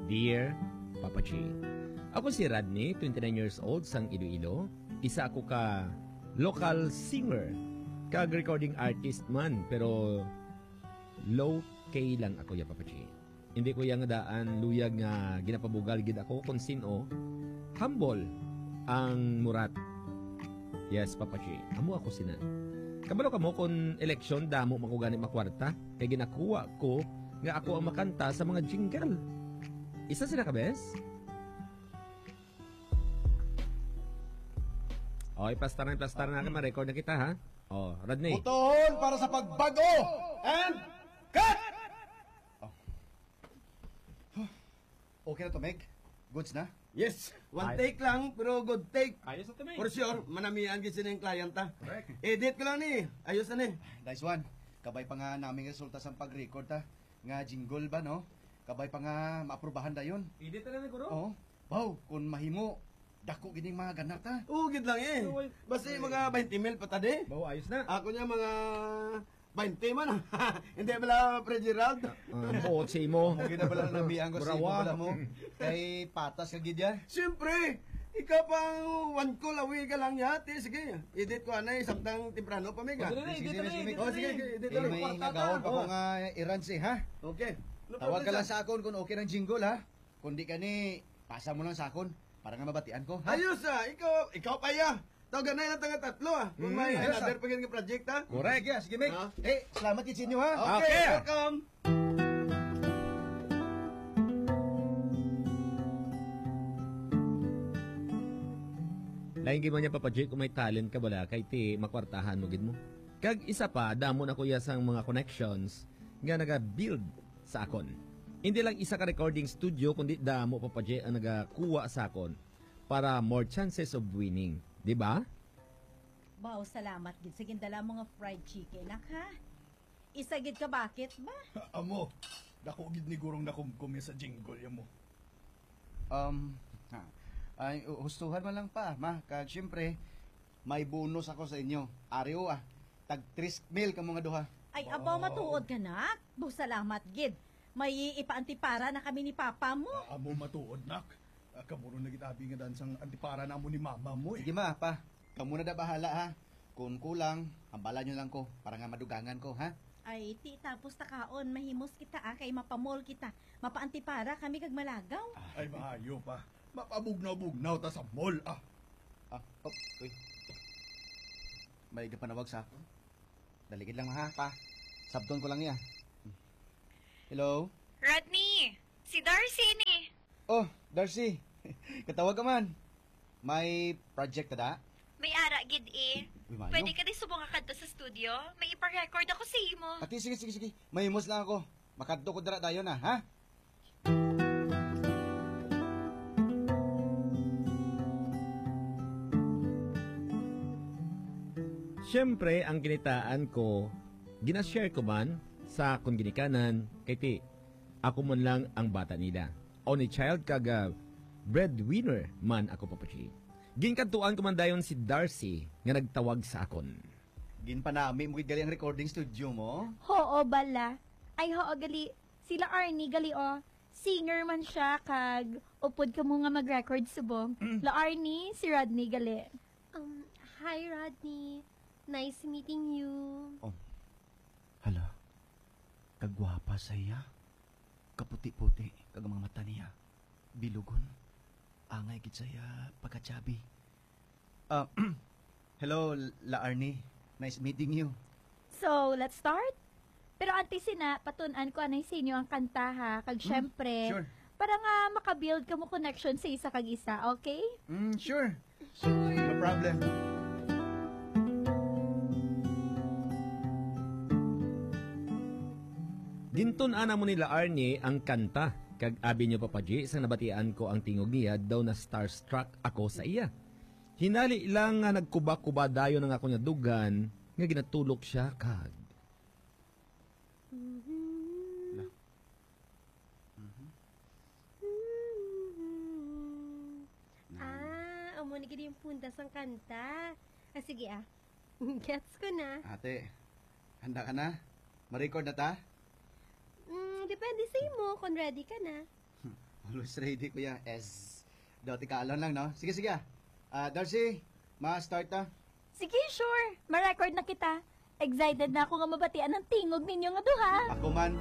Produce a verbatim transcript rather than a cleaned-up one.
Dear Papa G, ako si Rodney, twenty-nine years old, sang Iloilo. Isa ako ka local singer kag recording artist man, pero low key lang ako ya, Papa G. Hindi ko yang daan luyag nga ginapabugal gid ako kon sin-o. Humble ang murat. Yes, Papa G. Amo ako sina. Kabalo kamo kon eleksyon, damo man ko gani makwarta kay ginakuha ko nga ako ang makanta sa mga jingle. Isa sila ka bes? Oy, plastar na, plastar na, ma-record na kita, ha? Oh, Rodney. Botohon para sa pagbago and cut! Oh. Okay na to, Meg? Goods na? Yes. One Ay. take lang, pero good take. Ayos na to, Meg. For sure, manamian gid sini ang client ta. Correct. Edit ko lang ni. Ayos na ni. Nice one. Kabay pa nga naming resulta sa pag-record ta. Nga jingle ba, no? Kabay pa nga maaprubahan dayon. Edit na lang, guro? Oo. Wow, kung mahimo, dako gid ning mga ganat, ha? Oo, gid lang eh. Oo, ay. Basta yung mga twenty mil pa ta di. Bawo, ayos na. Ako niya mga twenty man. Hindi pala, Pre Gerald. Ah, buot sa imo. Mao gid na pala ang nabihan ko sa imo Burawa. pala mo. Kay patas ka gid ya. Siyempre, ikaw pang one call away ka lang niya. Ti, sige, edit ko anay, samtang temprano pa, Mega. Pwede na, Sige, edit sige, na, sige, edit sige. Oh, na, sige, eh. sige, edit Eh, na. may Kwarta nagawon ta. pa ko Oh. nga errands eh, ha? Okay. No Tawag problem, ka lang sir. sa akon kung okay ng jingle, ha? Kung di ka ni, pasa mo lang sa akon para nga mabatian ko, ha? Ayos, ah. Ikaw, ikaw pa, ya. Tawagan na lang taga tatlo, ah. Kung Mm, may ayos, another ah. pa gid nga project, ha? Correct. Sige, sige, Mick. Ah. Eh, salamat gid sa inyo, ha? Okay, Okay. welcome. Lain gid man niya, Papa J, kung may talent ka bala, kay ti makwartahan mo gid mo. Kag isa pa, damo na kuya sang mga connections nga naga-build sa akon. Hindi lang isa ka recording studio, kundi damo, Papa J, ang nagakuha sa akon para more chances of winning. Di ba? Wow, salamat gid sa gindala mo nga fried chicken, nak, ha? Isa gid ka bakit ba? Amo, dako gid ni gurong nakumkum sa jingle ya mo. Um, ha. Ay, hu-, hustuhan man lang pa, ma. Kag syempre, may bonus ako sa inyo. Ari o, ah. Tag tres mil kamo nga duha. Ay, abaw, Wow. matuod ka, nak? Bo, salamat gid. May ipaantipara na kami ni Papa mo. Ah, amo matuod, nak. Ah, kamo ron nagitabi nga dansang antipara namo ni Mama mo, eh. Sige, ma, pa. Kamo na da bahala, ha. Kung kulang, hambala nyo lang ko para nga madugangan ko, ha? Ay, ti, tapos ta kaon, mahimos kita, ah, kay mapamol kita. Mapaantipara kami kag malagaw. Ay, maayo pa. Mapabugnaw-bugnaw ta sa mall, ah. Ah, oh, uy. May nagpanawag sa akon. Daligid lang, ha, pa. Sabton ko lang niya. Hello? Rodney, si Darcy ni. Oh, Darcy. Katawag ka man. May project ka da? May ara gid, eh. Uy, maayo. Pwede ka di subong nga kadto sa studio? May ipa-record ako sa imo. Ati, sige, sige, sige. Mahimos lang ako. Makadto ko dira dayon na, ha? Siyempre, ang kinitaan ko, ginashare ko man sa akon ginikanan, kay ti, ako man lang ang bata nila. Only child kag, ah, breadwinner man ako, Papa G. Ginkadtuan ko man dayon si Darcy nga nagtawag sa akon. Ginpanami mo gid gali ang recording studio mo? Hoo, bala. Ay, hoo, gali. Sila Arnie, gali, oh. Singer man siya, kag upod kamo nga mag-record subong. La Arnie, si Rodney, gali. Um, hi, Rodney. Nice meeting you. Oh. Hala. Kagwapa sa iya. Kaputi-puti, kag ang mga mata niya. Bilugon. Angay gid sa iya pagka-chubby. Ah, hello, La Arnie. Nice meeting you. So, let's start? Pero antes sina, patun-an ko anay sa inyo ang kanta, ha? Kag Hmm, syempre, sure. para nga makabuild kamo connection sa isa kag isa, okay? Mm, sure. Sure. No problem. Gintun-an namo ni La Arnie ang kanta, kag abi niyo, Papa G, sang nabatian ko ang tingog niya, daw na-starstruck ako sa iya. Hinali lang nga nagkuba-kuba dayon ang akon nga dugan nga ginatulok siya kag Mhm. La. Mhm. Mhm. Na. Ah, amo ni gid yung punda sang kanta. Ah, sige, ah. Gets ko na. Ate, handa ka na? Ma-record na ta? Mm, depende sa imo kung ready ka na. Hmm. Always ready, kuya. Yes. Daw, tika lang, no? Sige, sige, ah. Ah, Darcy, ma-start ta. Sige, sure. Ma-record na kita. Excited na ako nga mabatian ang tingog ninyo nga duha. Ako man.